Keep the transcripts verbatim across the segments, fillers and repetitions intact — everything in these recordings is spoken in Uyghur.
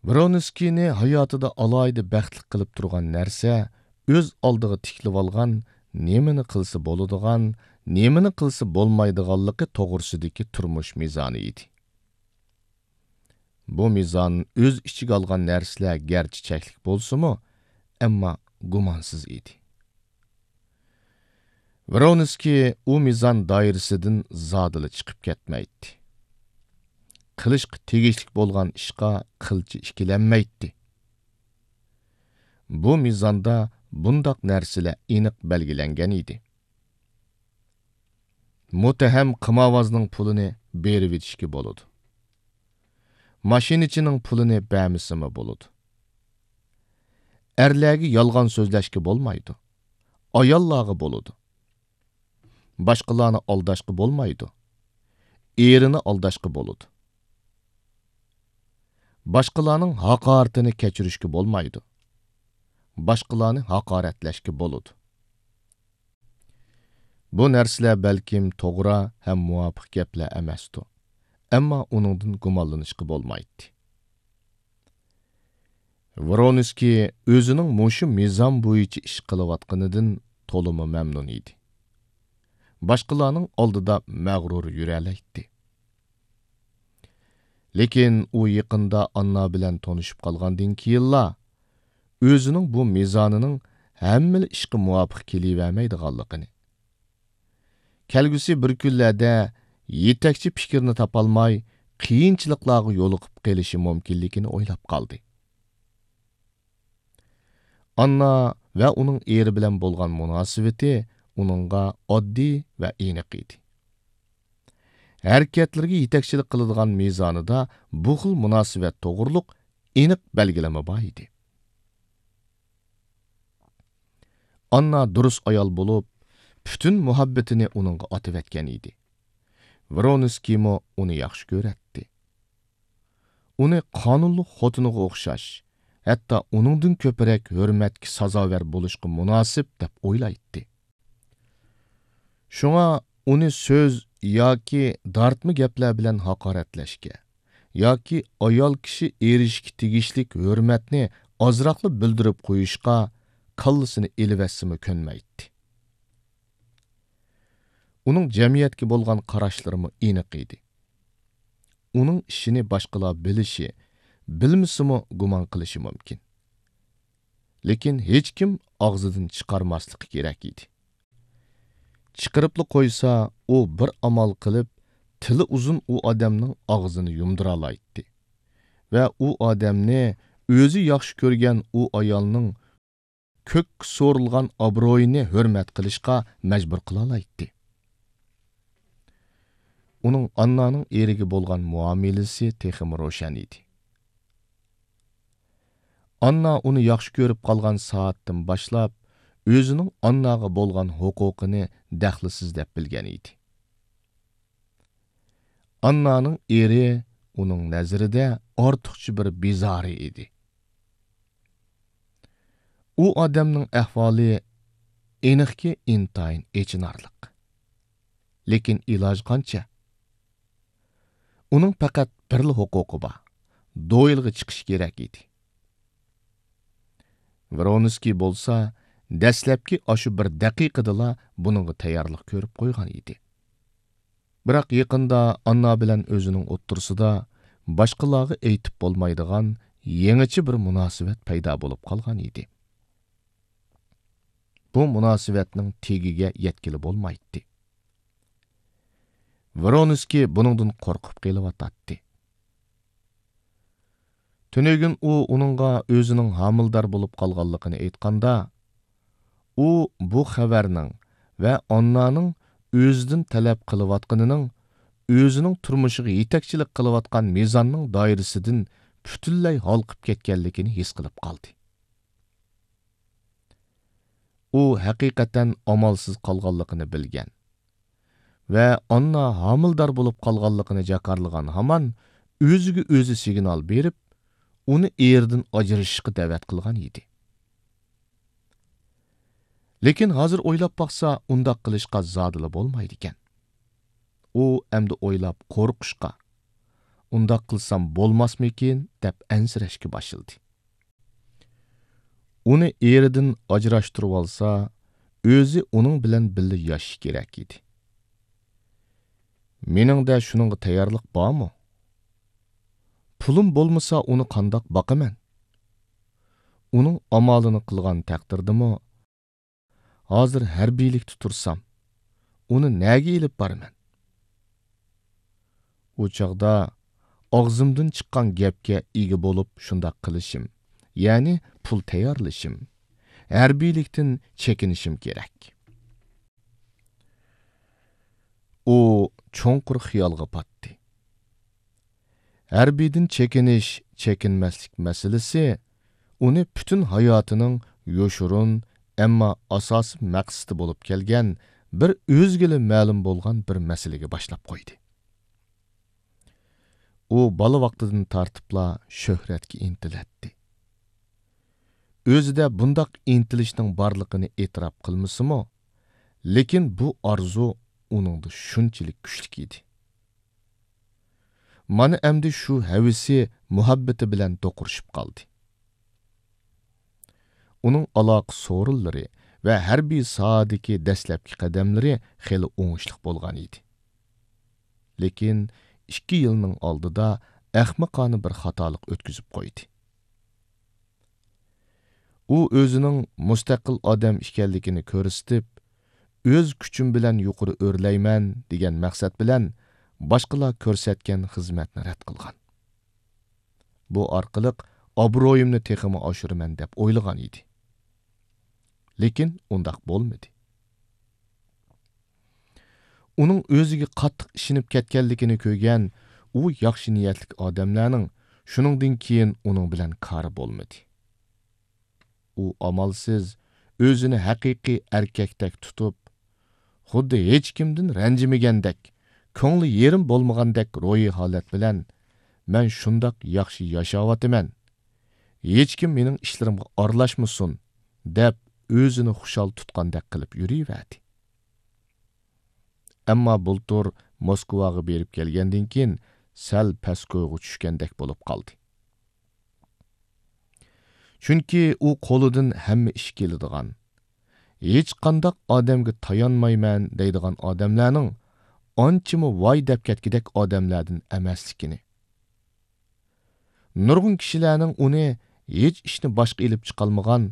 ۋرونسكىينى ھاياتىدا ئالاھىدە بەختلىك قىلىپ تۇرغان نەرسە ئۆز ئالدىغا تىكلىۋالغان، نېمىنى قىلسا بولىدىغان، نېمىنى قىلسا بولمايدىغانلىقى توغرىسىدىكى تۇرمۇش مىزانى ئىدى. بۇ مىزان ئۆز ئىچىگە ئالغان نەرسىلەر گەرچە چەكلىك بولسىمۇ، ئەمما گۇمانسىز ئىدى. ۋرونسكىي ئۇ مىزان دائىرىسىدىن زادىلا چىقىپ كەتمەيتتى. قىلىشقا تېگىشلىك بولغان ئىشقا قىلچە ئىككىلەنمەيتتى. بۇ مىزاندا بۇنداق نەرسىلەر ئېنىق بەلگىلەنگەن ئىدى. مۇتتەھەم قىمارۋازنىڭ پۇلىنى بېرىۋېتىشكە بولىدۇ. ماشىنىچىنىڭ پۇلىنى بەرمىسىمۇ بولىدۇ. ئەرلەرگە يالغان سۆزلەشكە بولمايدۇ. ئاياللارغا بولىدۇ. باشقىلارنى ئالداشقا بولمايدۇ. ئېرىنى ئالداشقا بولىدۇ. باشقىلارنىڭ ھاقارىتىنى كەچۈرۈشكە بولمايدۇ. باشقىلارنى ھاقارەتلەشكە بولىدۇ. بۇ نەرسىلەر بەلكىم توغرا ھەم مۇۋاپىق گەپلەر ئەمەستۇ، ئەمما ئۇنىڭدىن گۇمانلىنىشقا بولمايتتى. ۋرونسكىي ئۆزىنىڭ مۇشۇ مىزان بويىچە ئىش قىلىۋاتقىنىدىن تولىمۇ مەمنۇن ئىدى. باشقىلارنىڭ ئالدىدا مەغرۇر يۈرەلەيتتى. لېكىن ئۇ يېقىندا ئاننا بىلەن تونۇشۇپ قالغاندىن كېيىنلا، ئۆزىنىڭ بۇ مىزانىنىڭ ھەممىلا ئىشقا مۇۋاپىق كېلىۋەرمەيدىغانلىقىنى، كەلگۈسى بىر كۈنلەردە يېتەكچى پىكىرنى تاپالماي، قىيىنچىلىقلارغا يولۇقۇپ قېلىشى مۇمكىنلىكىنى ئويلاپ قالدى. ئاننا ۋە ئۇنىڭ ئېرى بىلەن بولغان مۇناسىۋىتى ئۇنىڭغا ئاددىي ۋە ئېنىق ئىدى. ھەرىكەتلىرىگە يېتەكچىلىك قىلىدىغان مىزانىدا بۇ خىل مۇناسىۋەت توغرۇلۇق ئېنىق بەلگىلىمە بار ئىدى. ئاننا دۇرۇس ئايال بولۇپ، پۈتۈن مۇھەببىتىنى ئۇنىڭغا ئاتىۋەتكەن ئىدى. ۋرونسكىيمۇ ئۇنى ياخشى كۆرەتتى. ئۇنى قانۇنلۇق خوتۇنىغا ئوخشاش، ھەتتا ئۇنىڭدىن كۆپرەك ھۆرمەتكە سازاۋەر بولۇشقا مۇناسىپ دەپ ئويلايتتى. شۇڭا ئۇنى سۆز ياكى دارتما گەپلەر بىلەن ھاقارەتلەشكە ياكى ئايال كىشى ئېرىشىشكە تېگىشلىك ھۆرمەتنى ئازراقلا بىلدۈرۈپ قويۇشقا كاللىسىنى ئېلىۋەتسىمۇ كۆنمەيتتى. ئۇنىڭ جەمئىيەتكە بولغان قاراشلىرىمۇ ئېنىق ئىدى. ئۇنىڭ ئىشىنى باشقىلار بىلىشى، بىلمىسىمۇ گۇمان قىلىشى مۇمكىن. لېكىن ھېچكىم ئاغزىدىن چىقارماسلىقى كېرەك ئىدى. چىقىرىپلا قويسا، ئۇ بىر ئامال قىلىپ، تىلى ئۇزۇن ئۇ ئادەمنىڭ ئاغزىنى يۇمدۇرالايتتى ۋە ئۇ ئادەمنى ئۆزى ياخشى كۆرگەن ئۇ ئايالنىڭ كۆككە سورۇلغان ئابرۇيىنى ھۆرمەت قىلىشقا مەجبۇر قىلالايتتى. ئۇنىڭ ئاننانىڭ ئېرىگە بولغان مۇئامىلىسى تېخىمۇ روشەن ئىدى. ئاننا ئۇنى ياخشى كۆرۈپ قالغان سائەتتىن باشلاپ، ئۆزىنىڭ ئانناغا بولغان ھوقۇقىنى دەخلىسىز دەپ بىلگەن ئىدى. ئاننانىڭ ئېرى ئۇنىڭ نەزىرىدە ئارتۇقچە بىر بىزارى ئىدى. ئۇ ئادەمنىڭ ئەھۋالى ئېنىقكى ئىنتايىن ئېچىنارلىق. لېكىن ئىلاج قانچە؟ ئۇنىڭ پەقەت بىرلا ھوقۇقى بار، دوئېلغا چىقىشى كېرەك ئىدى. ۋرونسكىي بولسا دەسلەپكى ئاشۇ بىر دەقىقىدىلا بۇنىڭغا تەييارلىق كۆرۈپ قويغان ئىدى. بىراق يېقىندا ئاننا بىلەن ئۆزىنىڭ ئوتتۇرىسىدا باشقىلارغا ئېيتىپ بولمايدىغان يېڭىچە بىر مۇناسىۋەت پەيدا بولۇپ قالغان ئىدى. بۇ مۇناسىۋەتنىڭ تېگىگە يەتكىلى بولمايتتى. ۋرونسكىي بۇنىڭدىن قورقۇپ قېلىۋاتاتتى. تۈنۈگۈن ئۇ ئۇنىڭغا ئۆزىنىڭ ھامىلىدار بولۇپ قالغانلىقىنى ئېيتقاندا، ئۇ بۇ خەۋەرنىڭ ۋە ئاننانىڭ ئۆزىدىن تەلەپ قىلىۋاتقىنىنىڭ ئۆزىنىڭ تۇرمۇشىغا يېتەكچىلىك قىلىۋاتقان مىزاننىڭ دائىرىسىدىن پۈتۈنلەي ھالقىپ كەتكەنلىكىنى ھېس قىلىپ قالدى. ئۇ ھەقىقەتەن ئامالسىز قالغانلىقىنى بىلگەن ۋە ئاننا ھامىلىدار بولۇپ قالغانلىقىنى جاكارلىغان ھامان ئۆزىگە ئۆزى سىگنال بېرىپ، ئۇنى ئېرىدىن ئاجرىشىشقا دەۋەت قىلغان ئىدى. لېكىن ھازىر ئويلاپ باقسا، ئۇنداق قىلىشقا زادىلا بولمايدىكەن. ئۇ ئەمدى ئويلاپ قورقۇشقا، ئۇنداق قىلسام بولماسمىكىن دەپ ئەنسىرەشكە باشلىدى. ئۇنى ئېرىدىن ئاجراشتۇرۇۋالسا، ئۆزى ئۇنىڭ بىلەن بىللە ياشىشى كېرەك ئىدى. مېنىڭدە شۇنىڭغا تەييارلىق بارمۇ؟ پۇلۇم بولمىسا ئۇنى قانداق باقىمەن؟ ئۇنىڭ ئامالىنى قىلغان تەقدىردىمۇ، ھازىر ھەربىيلىكتە تۇرسام، ئۇنى نەگە ئېلىپ بارىمەن؟ ئۇ چاغدا ئاغزىمدىن چىققان گەپكە ئىگە بولۇپ شۇنداق قىلىشىم، يەنى پۇل تەييارلىشىم، ھەربىيلىكتىن چېكىنىشىم كېرەك. ئۇ چوڭقۇر خىيالغا پاتتى. ھەربىيدىن چېكىنىش، چېكىنمەسلىك مەسىلىسى ئۇنى پۈتۈن ھاياتىنىڭ يوشۇرۇن، ئەمما ئاساسىي مەقسىتى بولۇپ كەلگەن بىر ئۆزىگىلا مەلۇم بولغان بىر مەسىلىگە باشلاپ قويدى. ئۇ بالا ۋاقتىدىن تارتىپلا شۆھرەتكە ئىنتىلەتتى. ئۆزىدە بۇنداق ئىنتىلىشنىڭ بارلىقىنى ئېتىراپ قىلمىسىمۇ، لېكىن بۇ ئارزۇ ئۇنىڭدا شۇنچىلىك كۈچلۈك ئىدى. مانا ئەمدى شۇ ھەۋىسى مۇھەببىتى بىلەن دوقۇرۇشۇپ قالدى. ئۇنىڭ ئالاقە سورۇنلىرى ۋە ھەربىي ساھەدىكى دەسلەپكى قەدەملىرى خېلى ئوڭۇشلۇق بولغان ئىدى. لېكىن ئىككى يىلنىڭ ئالدىدا ئەخمىقانە بىر خاتالىق ئۆتكۈزۈپ قويدى. ئۇ ئۆزىنىڭ مۇستەقىل ئادەم ئىكەنلىكىنى كۆرسىتىپ، ئۆز كۈچۈم بىلەن يۇقىرى ئۆرلەيمەن دېگەن مەقسەت بىلەن باشقىلار كۆرسەتكەن خىزمەتنى رەت قىلغان. بۇ ئارقىلىق ئابرۇيۇمنى تېخىمۇ ئاشۇرىمەن دەپ ئويلىغان ئىدى. لېكىن ئۇنداق بولمىدى. ئۇنىڭ ئۆزىگە قاتتىق ئىشىنىپ كەتكەنلىكىنى كۆرگەن ئۇ ياخشى نىيەتلىك ئادەملەرنىڭ شۇنىڭدىن كېيىن ئۇنىڭ بىلەن كارى بولمىدى. ئۇ ئامالسىز ئۆزىنى ھەقىقىي ئەركەكتەك تۇتۇپ، خۇددى ھېچكىمدىن رەنجىمىگەندەك، كۆڭلى يېرىم بولمىغاندەك روھىي ھالەت بىلەن، «مەن شۇنداق ياخشى ياشاۋاتىمەن، ھېچكىم مېنىڭ ئىشلىرىمغا ئارىلاشمىسۇن» دەپ، ئۆزىنى خۇشال تۇتقاندەك قىلىپ يۈرۈۋەردى. ئەمما بۇلتۇر موسكۋاغا بېرىپ كەلگەندىن كېيىن سەل پەسكويغا چۈشكەندەك بولۇپ قالدى. چۈنكى ئۇ قولىدىن ھەممە ئىش كېلىدىغان، ھېچقانداق ئادەمگە تايانمايمەن دەيدىغان ئادەملەرنىڭ ئانچىمۇ ۋاي دەپ كەتكۈدەك ئادەملەردىن ئەمەسلىكىنى، نۇرغۇن كىشىلەرنىڭ ئۇنى ھېچ ئىشنى باشقا ئېلىپ چىقالمىغان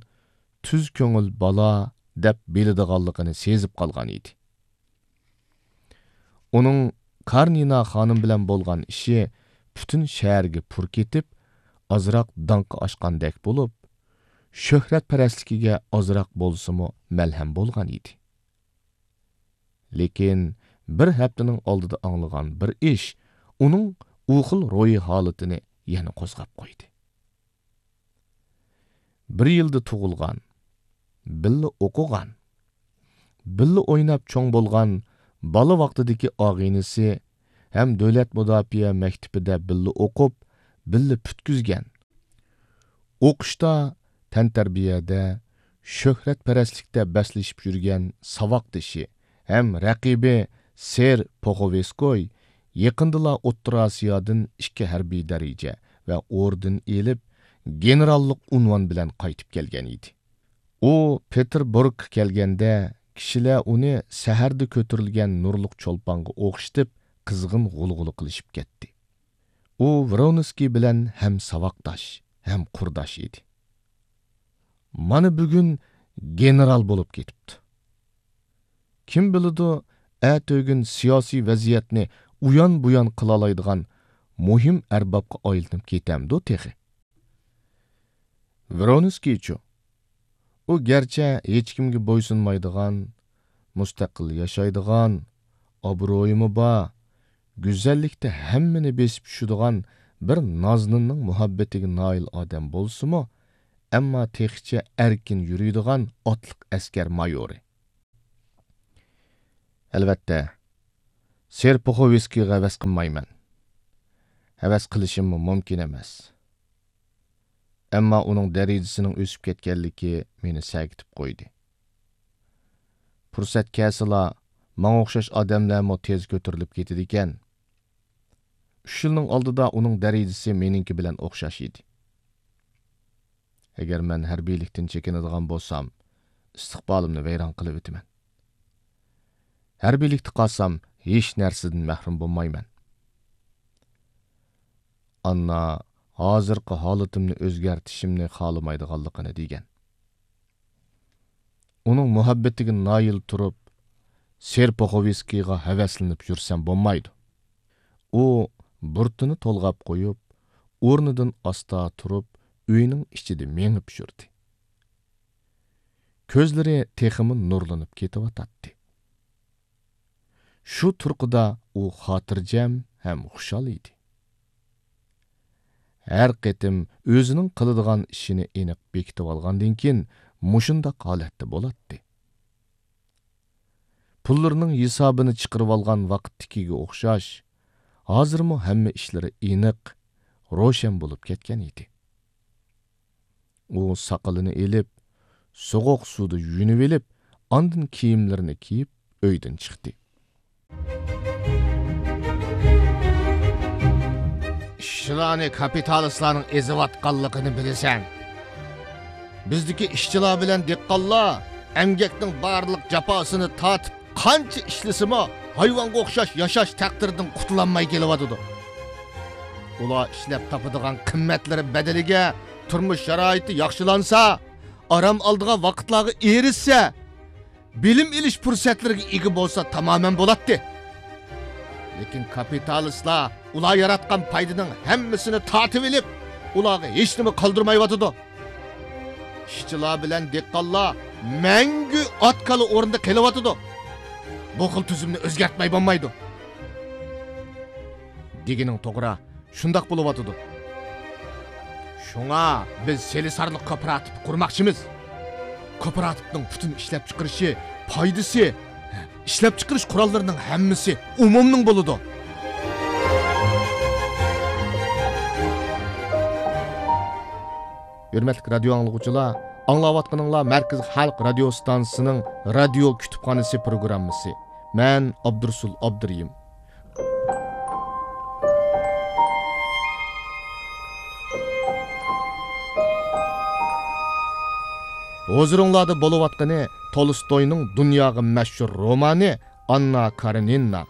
تۈز كۆڭۈل بالا دەپ بىلىدىغانلىقىنى سېزىپ قالغان ئىدى. ئۇنىڭ كارنىنا خانىم بىلەن بولغان ئىشى پۈتۈن شەھەرگە پۇر كېتىپ، ئازراق داڭقى ئاشقاندەك بولۇپ، شۆھرەتپەرەسلىكىگە ئازراق بولسىمۇ مەلھەم بولغان ئىدى. لېكىن بىر ھەپتىنىڭ ئالدىدا ئاڭلىغان بىر ئىش ئۇنىڭ ئۇ خىل روھىي ھالىتىنى يەنە قوزغاپ قويدى. بىر يىلدا تۇغۇلغان، بىللە ئوقۇغان، بىللە ئويناپ چوڭ بولغان بالا ۋاقتىدىكى ئاغىنىسى ھەم دۆلەت مۇداپىئە مەكتىپىدە بىللە ئوقۇپ، بىللە پۈتكۈزگەن، ئوقۇشتا، تەنتەربىيەدە، شۆھرەتپەرەسلىكتە بەسلىشىپ يۈرگەن ساۋاقدىشى ھەم رەقىبى سېر پوخوۋېسكوي يېقىندىلا ئوتتۇرا ئاسىيادىن ئىككى ھەربىي دەرىجە ۋە ئوردېن ئېلىپ، گېنېراللىق ئۇنۋان بىلەن قايتىپ كەلگەن ئىدى. ئۇ پېتېربۇرگقا كەلگەندە، كىشىلەر ئۇنى سەھەردە كۆتۈرۈلگەن نۇرلۇق چولپانغا ئوخشىتىپ، قىزغىن غۇلغۇلا قىلىشىپ كەتتى. ئۇ ۋرونسكىي بىلەن ھەم ساۋاقداش، ھەم قۇرداش ئىدى. مانا بۈگۈن گېنېرال بولۇپ كېتىپتۇ. كىم بىلىدۇ، ئەتىگۈن سىياسىي ۋەزىيەتنى ئۇيان-بۇيان قىلالايدىغان مۇھىم ئەربابقا ئايلىنىپ كېتەمدۇ تېخى؟ ۋرونسكىيچۇ؟ ئۇ گەرچە ھېچكىمگە بويسۇنمايدىغان، مۇستەقىل ياشايدىغان، ئابرۇيىمۇ بار، گۈزەللىكتە ھەممىنى بېسىپ چۈشىدىغان بىر نازنىننىڭ مۇھەببىتىگە نائىل ئادەم بولسىمۇ، ئەمما تېخىچە ئەركىن يۈرىدىغان ئاتلىق ئەسكەر مايورى. ئەلۋەتتە، سېر پوخوۋسكىيغا ھەۋەس قىلمايمەن. ھەۋەس قىلىشىممۇ مۇمكىن ئەمەس. ئەمما ئۇنىڭ دەرىجىسىنىڭ ئۆسۈپ كەتكەنلىكى مېنى سەگىتىپ قويدى. پۇرسەت كەلسىلا، ماڭا ئوخشاش ئادەملەرمۇ تېز كۆتۈرۈلۈپ كېتىدىكەن. ئۈچ يىلنىڭ ئالدىدا ئۇنىڭ دەرىجىسى مېنىڭكى بىلەن ئوخشاش ئىدى. ئەگەر مەن ھەربىيلىكتىن چېكىنىدىغان بولسام، ئىستىقبالىمنى ۋەيران قىلىۋېتىمەن. ھەربىيلىكتە قالسام، ھېچ نەرسىدىن مەھرۇم بولمايمەن. ئاننا ھازىرقى ھالىتىمنى ئۆزگەرتىشىمنى خالىمايدىغانلىقىنى دېگەن. ئۇنىڭ مۇھەببىتىگە نايىل تۇرۇپ، سېرپوخوۋسكىيغا ھەۋەسلىنىپ يۈرسەم بولمايدۇ. ئۇ بۇرۇتىنى تولغاپ قويۇپ، ئورنىدىن ئاستا تۇرۇپ، ئۆينىڭ ئىچىدە مېڭىپ يۈردى. كۆزلىرى تېخىمۇ نۇرلىنىپ كېتىۋاتاتتى. شۇ تۇرقىدا ئۇ خاتىرجەم ھەم خۇشال ئىدى. ھەر قېتىم ئۆزىنىڭ قىلىدىغان ئىشىنى ئېنىق بېكىتىۋالغاندىن كېيىن، مۇشۇنداق ھالەتتە بولاتتى. پۇللىرىنىڭ ھېسابىنى چىقىرىۋالغان ۋاقىتتىكىگە ئوخشاش، ھازىرمۇ ھەممە ئىشلىرى ئېنىق، روشەن بولۇپ كەتكەن ئىدى. ئۇ ساقىلىنى ئېلىپ، سوغۇق سۇدا يۇيۇنۇۋېلىپ، ئاندىن كىيىملىرىنى كىيىپ، ئۆيدىن چىقتى. ئىشچىلارنى كاپىتالىستلارنىڭ ئېزىۋاتقانلىقىنى بىلىسەن. بىزدىكى ئىشچىلار بىلەن دېھقانلار ئەمگەكنىڭ بارلىق جاپاسىنى تارتىپ، قانچە ئىشلىسىمۇ، ھايۋانغا ئوخشاش ياشاش تەقدىرىدىن قۇتۇلالماي كېلىۋاتىدۇ. ئۇلار ئىشلەپ تاپىدىغان قىممەتلىرى بەدىلىگە تۇرمۇش شارائىتى ياخشىلانسا، ئارام ئالىدىغان ۋاقىتلارغا ئېرىشسە، بىلىم ئېلىش پۇرسەتلىرىگە ئىگە بولسا تامامەن بولاتتى. لېكىن كاپىتالىستلار ئۇلار ياراتقان پايدىنىڭ ھەممىسىنى تارتىۋېلىپ، ئۇلارغا ھېچنېمە قالدۇرمايۋاتىدۇ. ئىشچىلار بىلەن دېھقانلار مەڭگۈ ئات-كالا ئورنىدا قېلىۋاتىدۇ. بۇ خىل تۈزۈمنى ئۆزگەرتمەي بولمايدۇ. دېگىنىڭ توغرا، شۇنداق بولۇۋاتىدۇ. شۇڭا بىز سېلىسارلىق كوپىراتىپى قۇرماقچىمىز. كوپىراتىپنىڭ پۈتۈن ئىشلەپچىقىرىشى، پايدىسى، ئىشلەپچىقىرىش قوراللىرىنىڭ ھەممىسى ئومۇمنىڭ بولىدۇ. ھۆرمەتلىك رادىيو ئاڭلىغۇچىلار، ئاڭلاۋاتقىنىڭلار مەركىزىي خەلق رادىيو ستانسىسىنىڭ رادىيو كۇتۇپخانىسى پروگراممىسى. مەن ئابدۇرۇسۇل ئابدۇرېھىم. ھۇزۇرۇڭلاردا بولۇۋاتقىنى تولستوينىڭ دۇنياغا مەشھۇر رومانى ئاننا كارېنىنا.